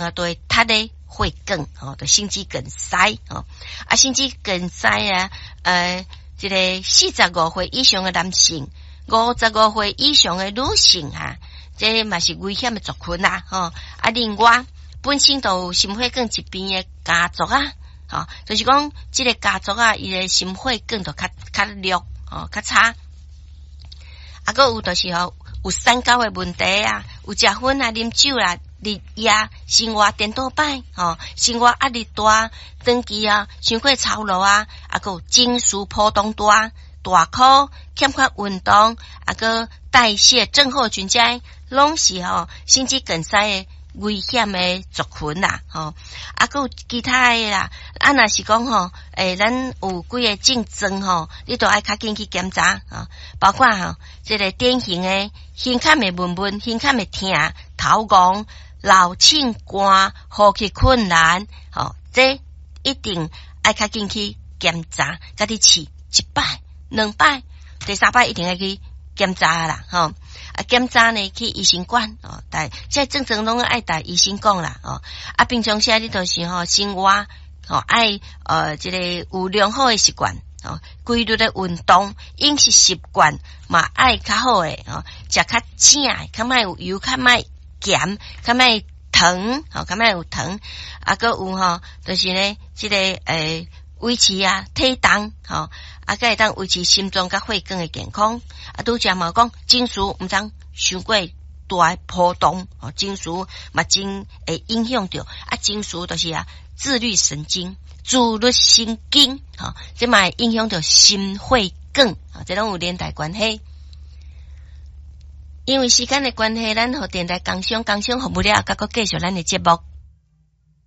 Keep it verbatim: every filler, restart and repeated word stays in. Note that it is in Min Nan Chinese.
啊，都會塞咧血管，吼，就心肌梗塞，吼，啊，心肌梗塞啊，呃，這個四十五歲以上的男性，五十五歲以上的女性哈，這嘛是危險的族群啦，吼，啊，另外本身就有心血管疾病的家族啊，吼，就是講這個家族啊，伊的心血管就較較弱，吼，較差。啊，閣有就是吼，有三高的問題啊，有食薰啊、啉酒啦、日夜生活顛倒擺，吼，生活壓力大，長期啊，傷過操勞啊，啊，閣有情緒波動大、大箍欠缺運動，啊，閣代謝症候群這攏是吼心肌梗塞的危險的族群啦，吼，啊，閣有其他的啦，啊，若是講吼，欸，咱有幾个症狀吼，你都愛較緊去檢查，吼，包括吼，這個典型的胸坎會悶悶、胸坎會疼、頭戇、流凊汗、呼吸困難，吼，這一定愛較緊去檢查，家己試一擺、兩擺，第三擺一定愛去檢查啦，吼。啊，檢查呢去醫生館哦，但這症狀攏愛共醫生講啦，哦。啊，平常時你就是吼生活吼愛呃這個有良好的習慣，哦，規律的運動，飲食習慣嘛愛較好的吼，食較正的，較莫有油，較莫鹹，較莫糖，吼，較莫有糖。啊，閣有吼，就是呢，這個欸維持啊體重，吼，啊，閣會當維持心臟佮血管的健康。啊，拄才嘛講情緒毋通傷過大的波動，吼，情緒嘛真會影響著。啊，情緒就是啊，自律神經、自律神經，吼，這嘛會影響著心血管，吼，這攏有連帶關係。因為時間的關係，咱予電台工商工商服務了，閣閣繼續咱的節目。